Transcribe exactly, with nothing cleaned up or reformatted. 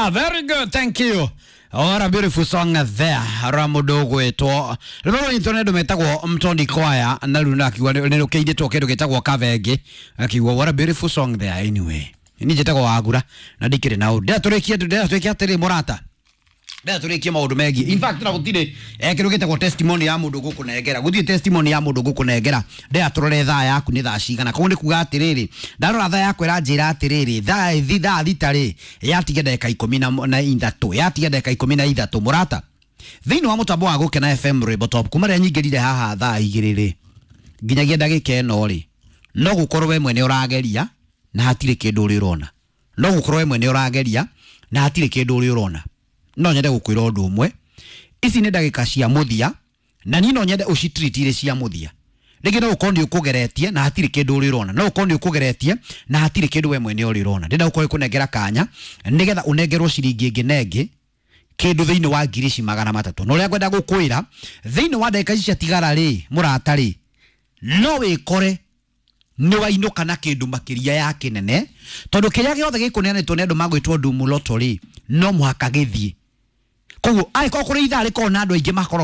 Ah, very good, thank you. What a beautiful song there. Ra mũndũ ũgwĩtwo rwĩmbo rũnyitwo nĩ andũ metagwo Mtondi Choir, na rĩu nakiuga nĩ rũkĩinĩtwo kĩndũ gĩtagwo Kavenge. Akiuga what a beautiful song there. Anyway, niĩ njĩtagwo Wagura na ndikĩrĩ na ũndũ. Ndĩratũrĩkie, ndĩratũrĩkie atĩrĩ, mũrata, ndĩratũrĩkie maũndũ megiĩ, in fact, na gũtirĩ eh, kĩndũ gĩtagwo testimony ya mũndũ gũkũnengera, gũtirĩ testimony ya mũndũ gũkũnengera. Ndĩratũrore thaa yaku nĩ thaa cigana. Koguo nĩ kuga atĩrĩrĩ, ndarora thaa yaku ĩranjĩra atĩrĩrĩ, thaa thi thaa thita rĩ, yatiga ndagĩka ikũmi na na ithatũ, yatiga ndagĩka ikũmi na ithatũ. Mũrata, thĩinĩ wa mũtambo wa Gũkena F M, Rwĩmbo Top, kuma rĩrĩa nyingĩrire haha thaa igĩrĩ rĩ, nginyagia ndagĩka ĩno rĩ, no gũkorwo we mwene ũrageria na hatirĩ kĩndũ ũrĩ ũrona, no gũkorwo we mwene ũrageria na hatirĩ kĩndũ ũrĩ ũrona. No nyende gũkwĩra ũndũ ũmwe, ici nĩ ndagĩka cia mũthia, na niĩ no nyende ũcitreat irĩ cia mũthia. Rĩngĩ no ũkorwo nĩ ũkũgeretie na hatirĩ kĩndũ ũrĩ ũrona, no ũkorwo nĩ ũkũgeretie na hatirĩ kĩndũ we mwene ũrĩ ũrona. Ndĩrenda gũkorwo ĩkũnengera kanya nĩgetha ũnengerwo ciringi ĩngĩ na ĩngĩ kĩndũ thĩinĩ wa ngiri ici magana matatũ. Na ũrĩa ngwenda gũkwĩra, thĩinĩ wa ndagĩka ici ciatigara rĩ, mũrata rĩ, no wĩkore nĩ wainũka na kĩndũ makĩria ya kĩnene, tondũ kĩrĩa gĩothe gĩkũneanĩtwo nĩ andũ magwĩtwo Ndumu Lotto rĩ, no mũhaka gĩthiĩ. Koguo angĩkorwo kũrĩ ithaa rĩkorwo na andũ aingĩ makorwo